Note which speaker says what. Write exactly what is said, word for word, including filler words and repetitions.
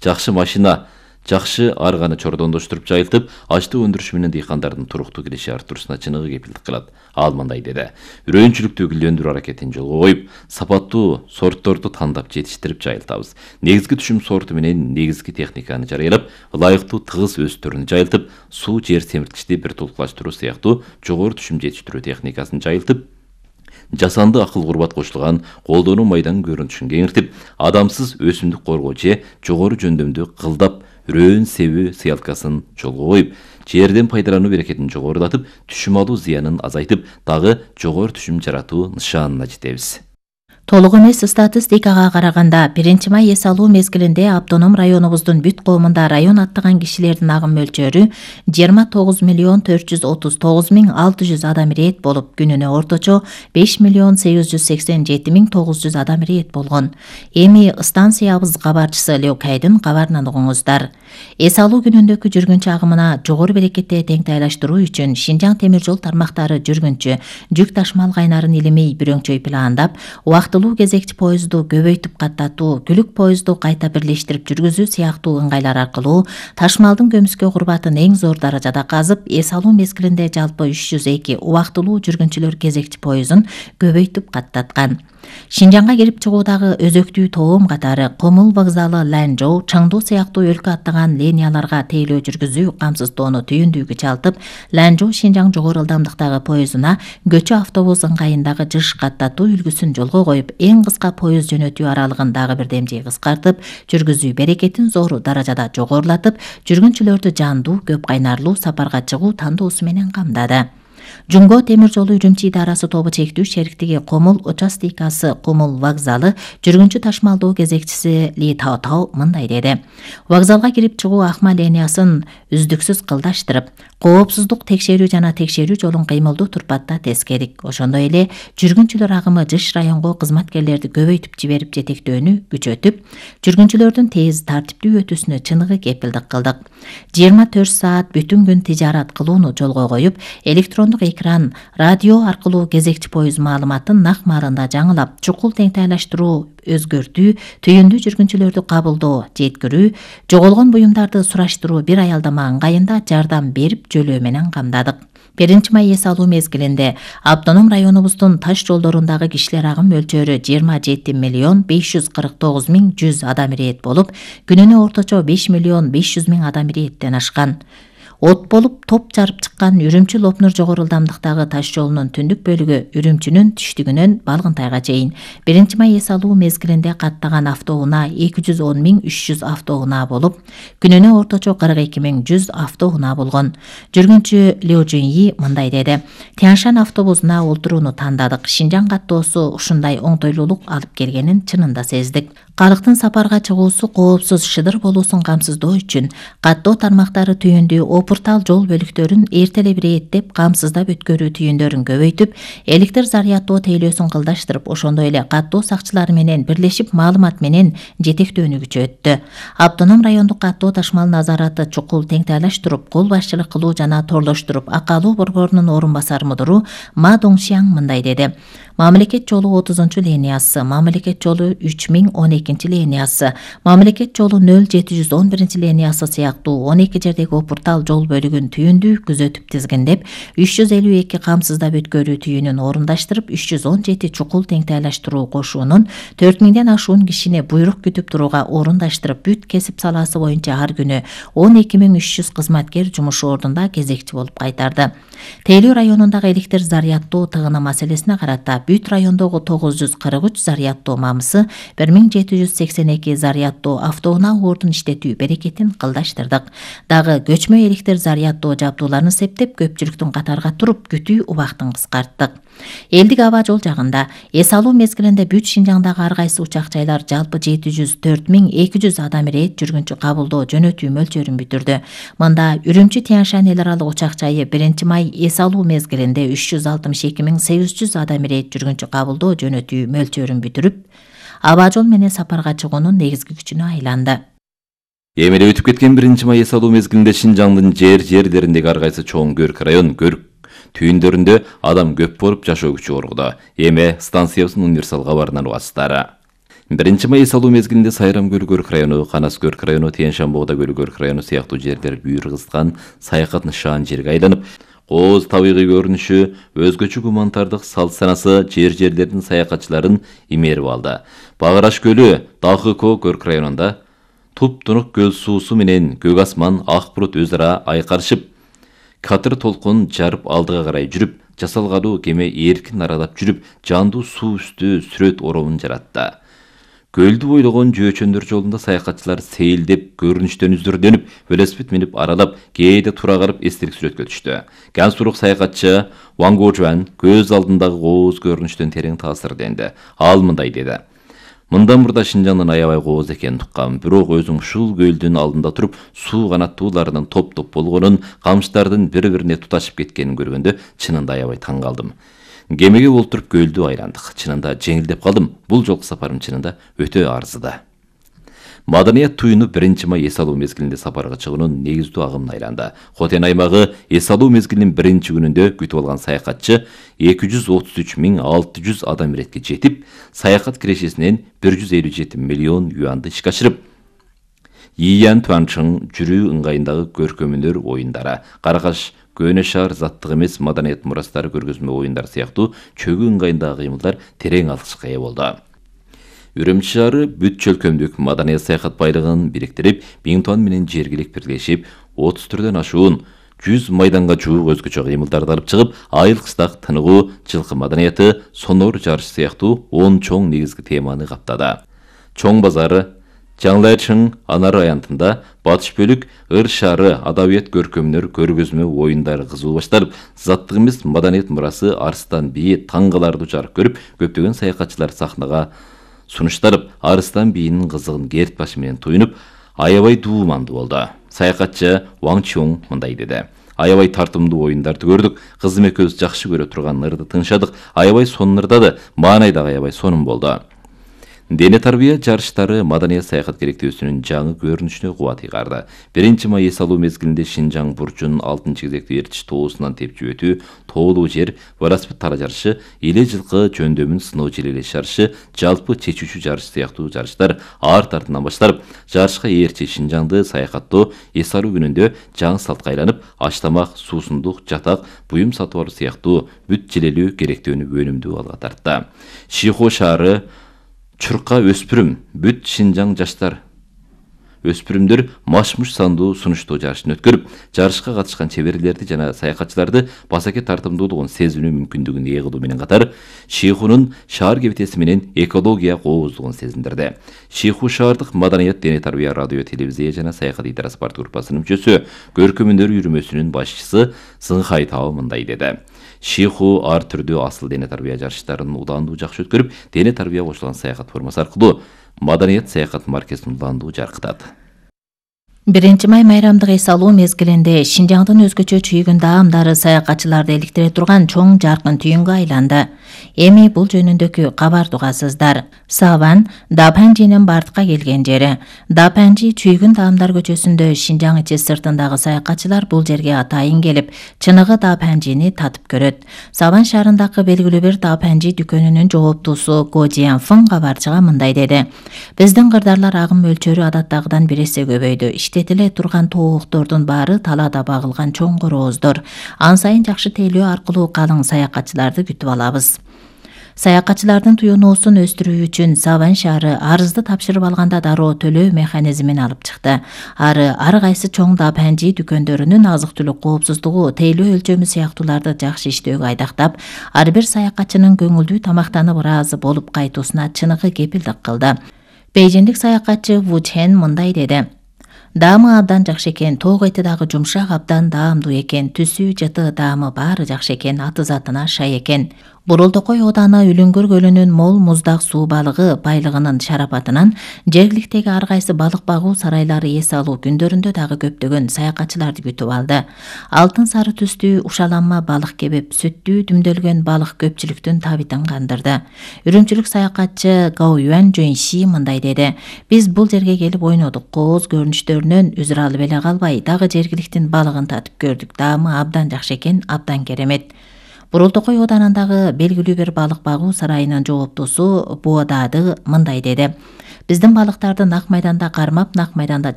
Speaker 1: жакшы машина, жакшы арганы чордондоштуруп жайылтып, ачтык өндүрүш менен дыйкандардын туруктуу киреше артуусуна чыныгы кепилдик кылат. Ал мындай деди: үрөөнчүлүктү гүлдөндүрүү аракетин жолго коюп, сапаттуу сортторду тандап жетиштирип жайылтабыз. Негизги түшүм сорту менен негизги техниканы жарыялап, ылайыктуу тыгыз өстөрүн жайылтып, суу жер семирткичти бир тулукташтыруу сыяктуу жогору түшүм жетиштирүү техникасын жайылтып, жасанды акыл курбат кошулган колдонуу майданын көрүнүшүн кеңиртип, адамсыз өсүмдүк коргоо же жогору жөндөмдү кылдап, үрөөн себүү сыялкасын жолго коюп, жерден пайдалануу берекетин жогорулатып, түшүм алуу зыянын азайтып, дагы жогору түшүм жаратуу нышанына жетебиз.
Speaker 2: Толук эмес статистикага караганда, биринчи май эс алуу мезгилинде автоном районубуздун бүт коомунда район аттаган кишилердин агым мөлчөрү жыйырма тогуз миллион төрт жүз отуз тогуз миң алты жүз адам ирет болуп, күнүнө орточо беш миллион сегиз жүз сексен жети миң тогуз жүз адам ирет болгон. Эми станциябыз кабарчысы Леокайдын кабарынан угуңуздар. Эс алуу күнүндөгү жүргүнчү агымына жогору берекетте теңтайлаштыруу үчүн Шинжаң темир жол тармактары жүргүнчү, жүк ташмал кайнарын илимей бүрөңчөй пландап, убактылуу кезекчи поезду көбөйтүп каттатуу, күлүк поезду кайта бирлештирип жүргүзүү сыяктуу ыңгайлар аркылуу ташмалдын көмүскө курбатын эң зор даражада казып, эс алуу мезгилинде жалпы үч жүз эки убактылуу жүргүнчүлөр кезекчи поездун көбөйтүп каттаткан. Шинжаңга кирип чыгуудагы өзөктүү тоом катары Комул вокзалы, Ланчжоу, Чаңду сыяктуу өлкө аттаган линияларга тейлөө жүргүзүү камсыздоону түйүндүүгө чалтып, Ланчжоу Шинжаң жогору ылдамдыктагы поездуна көчө автобус ыңгайындагы жыш каттатуу үлгүсүн жолго коюп, эң кыска поезд жөнөтүү аралыгын дагы бирдемчей кыскартып, жүргүзүү берекетин зор даражада жогорулатып, жүргүнчүлөрдү жандуу, көп кайнарлуу сапарга чыгуу тандоосу менен камдады. Жумго темир жолу Үрүмчи идарасы тобу чектүү шериктиги Комул участикасы Комул вокзалы жүргүнчү ташмалдоо кезекчиси Ли Тао Тао мындай деди: Вокзалга кирип чыгуу акма линиясын үздүксүз кылдаштырып, коопсуздук текшерүү жана текшерүү жолун кыймылдуу турпатта тескедик. Ошондой эле жүргүнчүлөр агымы жыш районго кызматкерлерди көбөйтүп жиберип жетектөөнү күчөтүп, жүргүнчүлөрдүн тез тартиптүү өтүүсүнө чыныгы кепилдик кылдык. жыйырма төрт саат бүтүн күн тижарат кылууну жолго коюп, электрондук экран, радио аркылуу кезекчи поезд маалыматын нак маалында жаңылап, чукул теңтайлаштыруу, өзгөртүү, түйүндүү жүргүнчүлөрдү кабылдоо, жеткирүү, жоголгон буюмдарды сураштыруу, бир аялдама ыңгайында жардам берип жөлөө менен камдадык. биринчи май эс алуу мезгилинде автоном районубуздун таш жолдорундагы кишилер агым мөлчөрү жыйырма жети миллион беш жүз кырк тогуз миң жүз адам ирет болуп, күнүнө орточо беш миллион беш жүз миң адам иреттен ашкан. От болуп топ жарып чыккан Үрүмчү Лопнур жогору ылдамдыктагы таш жолунун түндүк бөлүгү Үрүмчүнүн түштүгүнөн Балгынтайга чейин биринчи май эс алуу мезгилинде каттаган автоунаа эки жүз он миң үч жүз автоунаа болуп, күнүнө орточо кырк эки миң жүз автоунаа болгон. Жүргүнчү Лю Жуньи мындай деди: Тяншан автобусуна олтурууну тандадык. Шинжаң каттоосу ушундай оңтойлуулук алып келгенин чынында сездик. Калктын сапарга чыгуусу коопсуз, шыдыр болуусун камсыздоо үчүн каттоо тармактары түйүндүү опуртал жол бөлүктөрүн эртеле бирэттеп, камсыздап өткөрүү түйүндөрүн көбөйтүп, электр зарядтоо тейлөөсүн кылдаштырып, ошондой эле каттоо сакчылары менен бирлешип маалымат менен жетектөөнү күчөттү. Автоном райондук каттоо ташмал назараты чукул теңтайлаштырып, кол башчылык кылуу жана торлоштуруп, акалуу борборунун орун басары мудуру Ма Доңшияң мындай деди: Мамлекет жолу отузунчу линиясы, мамлекет жолу үч миң он экинчи линиясы, мамлекет жолу нөл жети жүз он биринчи линиясы сыяктуу он эки жердеги опуртал жол бөлүгүн түйүндүү күзөтүп тизгиндеп, үч жүз элүү эки камсыздап өткөрүү түйүнүн орундаштырып, үч жүз он жети чукул теңтайлаштыруу кошуунун төрт миңден ашуун кишини буйрук күтүп турууга орундаштырып, бүт кесип саласы боюнча ар күнү он эки миң үч жүз кызматкер жумуш ордунда кезекчи болуп кайтарды. Тейлүү районундагы электр зарядтоо тыгыны маселесине карата бүт райондогу тогуз жүз кырк үч зарядтоо мамысы, бир миң жети жүз сексен эки зарядтоо автоунаа ордун иштетүү берекетин кылдаштырдык. Дагы көчмө электр зарядтоо жабдууларын септеп, көпчүлүктүн катарга туруп күтүү убактын кыскарттык. Элдик аба жол жагында эс алуу мезгилинде бүт Шинжаңдагы ар кайсы учак жайлар жалпы жети жүз төрт миң эки жүз адам ирет жүргүнчү кабылдоо жөнөтүү мөлчөрүн бүтүрдү. Мында Үрүмчи Тяншан эл аралык учак жайы биринчи май эс алуу мезгилинде үч жүз алтымыш эки миң сегиз жүз адам ирет жүргүнчү кабылдоо жөнөтүү мөлчөрүн бүтүрүп, аба жол менен сапарга чыгуунун негизги күчүнө айланды.
Speaker 1: Эми эле өтүп кеткен биринчи май эс алуу мезгилинде Шинжаңдын жер жерлериндеги ар кайсы чоң Көрк район, Көрк түйүндөрүндө адам көп болуп жашоо күчү коргуда. Эми станциябыздын универсал кабарынан угасыздар. биринчи май эс алуу мезгилинде Сайрам көлү Көрк району, Канас Көрк району, Тиен-Шамбогда көлү Көрк району сыяктуу жерлер бүйүр кызган саякат нышан жерге айланып, кооз табигый көрүнүшү, өзгөчө гуманитардык салт санасы жер жерлердин саякатчыларын имерип алды. Багыраш көлү Дахыко Көрк районунда туп-тунук көл суусу менен көк асман, ак булут өз ара айкарышып, катыр толкун жарып алдыга карай жүрүп, жасалгалуу кеме эркин аралап жүрүп, жандуу суу үстү сүрөт оромун жаратты. Көлдү бойлогон жөөчөндөр жолунда саякатчылар сейилдеп, көрүнүштөн үздүрдөнүп, велосипед минип аралап, кээде тура карап эстелик сүрөткө түштү. Гансурук саякатчы Ван Гожуан көз алдындагы кооз көрүнүштөн терең таасирденди. Ал мындай деди: "Мындан мурда Шинжаңдын аябай кооз экенин уккам, бирок өзүм ушул көлдүн алдында туруп, суу канаттууларынын топ-топ болгонун, камчтардын бири-бирине туташып кеткенин көргөндө чынында аябай таң калдым. Кемеге олтуруп көлдү айландык. Чынында жеңилдеп калдым. Бул жолку сапарым чынында өтө арзыды." Маданият туюну биринчи май эс алуу мезгилинде сапарга чыгуунун негиздүү агымын айланды. Хотен аймагы эс алуу мезгилинин биринчи күнүндө күтүп алган саякатчы эки жүз отуз үч миң алты жүз адам иретке жетип, саякат кирешесинен бир жүз элүү жети миллион юанды ишке ашырып, Ийян Туанчың жүрүү ыңгайындагы көркөмөнөр оюндары, Каракаш Көнө шаар заттык эмес маданият мурастары көргөзмө оюндары сыяктуу чөгү ыңгайындагы кыймылдар терең алкышка ээ болду. Үрүмчү шаары бүт чөлкөмдүк маданият саякат байлыгын бириктирип, Биңтуан менен жергилик бирлешип, отуз түрдөн ашуун жүз майданга жуук өзгөчө кыймылдарды алып чыгып, айыл кыстак тыныгуу, жылкы маданияты, сонор жарыш сыяктуу он чоң негизги теманы каптады. Чоң базары, Жаңлайчың анар аянтында батыш бөлүк ыр шаары адабият көркөмөнөр көргөзмө оюндары кызуу башталып, заттык эмес маданият мурасы Арыстан бийи таң каларлуу жарык көрүп, көптөгөн саякатчылар сахнага сунушталып, Арыстан бийинин кызыгын керт башы менен туюнуп, аябай дуумандуу болду. Саякатчы Ван Чоң мындай деди: "Аябай тартымдуу оюндарды көрдүк. Кызым экөөбүз жакшы көрө турган ырды тыңшадык. Аябай сонун ырдады. Маанай дагы аябай сонун болду." Дене тарбия жарыштары маданият саякат керектөөсүнүн жаңы көрүнүшүнө кубат ыйгарды. биринчи май эс алуу мезгилинде Шинжаң бурчунун алтынчы кезекти Эрчиш тоосунан тепчип өтүү, тоолуу жер, велосипед тара жарышы, эле жылкы жөндөмүн сыноо желелеш жарышы, жалпы чечүүчү жарыш сыяктуу жарыштар арт артынан башталып, жарышка ээрчи Шинжаңды саякаттоо эс алуу күнүндө жаңы салтка айланып, аш тамак, суусундук, жатак, буюм сатып алуу сыяктуу бүт желелүү керектөөнү өнүмдүү алга тартты. Шихо шаары Чурка өспүрүм, бүт Шинжаң жаштар өспүрүмдөр машмуш сандуу сунуштоо жарышын өткөрүп, жарышка катышкан чеберлерди жана саякатчыларды басаке тартымдуулугун сезинүү мүмкүндүгүн ээ кылуу менен катар, Шихунун шаар кебетеси менен экология кооздугун сезиндирди. Шиху шаардык маданият, дене тарбия, радио, телевизия жана саякат идара спорт группасынын мүчөсү, көркөмөндөр үйрүмөсүнүн башчысы Сыңхай Тао мындай деди: "Шиху ар түрдүү асыл дене тарбия жарыштарын улаандуу жакшы өткөрүп, дене тарбия кошулган саякат формасы аркылуу маданият саякат маркесин улаандуу жаркытат."
Speaker 2: биринчи май майрамдык эс алуу мезгилинде Шинжаңдын өзгөчө чүйгүн даамдары саякатчыларды эликтире турган чоң жаркын түйүнгө айланды. Эми бул жөнүндөгү кабарды угасыздар. Саван Дапанжинин бардыкка келген жери. Дапанжи чүйгүн даамдар көчөсүндө Шинжаң ичи сыртындагы саякатчылар бул жерге атайын келип, чыныгы Дапанжини татып көрөт. Саван шаарындагы белгилүү бир Дапанжи дүкөнүнүн жооптуусу Го Жианфын кабарчыга мындай деди: "Биздин кырдарлар агым мөлчөрү адаттагыдан бир эсе көбөйдү. Иштетиле турган тооктордун баары талаада багылган чоң корооздор. Ан сайын жакшы тейлөө аркылуу калың саякатчыларды күтүп алабыз." Саякатчылардын туюнуусун өстүрүү үчүн Саван шаары арызды тапшырып алганда дароо төлөө механизмин алып чыкты. Ары ар кайсы чоң Дапанжи дүкөндөрүнүн азык-түлүк коопсуздугу, тейлөө өлчөмү сыяктууларды жакшы иштөөгө айдактап, ар бир саякатчынын көңүлдүү тамактанып ыраазы болуп кайтуусуна чыныгы кепилдик кылды. Бейжиндик саякатчы Ву Чен мындай деди: "Даамы абдан жакшы экен, тоок эти дагы жумшак, абдан даамдуу экен, түсү, жыты, даамы баары жакшы экен, аты затына шай экен." Бурулдукой ооданы Үлүңгүр көлүнүн мол муздак суу балыгы байлыгынын шарапатынан жергиликтеги ар кайсы балык багуу сарайлары эс алуу күндөрүндө дагы көптөгөн саякатчыларды күтүп алды. Алтын сары түстүү ушаланма балык кебеп, сүттүү дүмдөлгөн балык көпчүлүктүн табитин кандырды. Үрүмчүлүк саякатчы Гао Юан Жөнши мындай деди: "Биз бул жерге келип ойнодук, кооз көрүнүштөрүнөн үзүр алып эле калбай, дагы жергиликтин балыгын татып көрдүк. Даамы абдан жакшы экен, абдан керемет." Бурултокой ооданындагы белгилүү бир балык багуу сарайынын жооптусу Буадады мындай деди: биздин балыктарды нак майданда кармап, нак майданда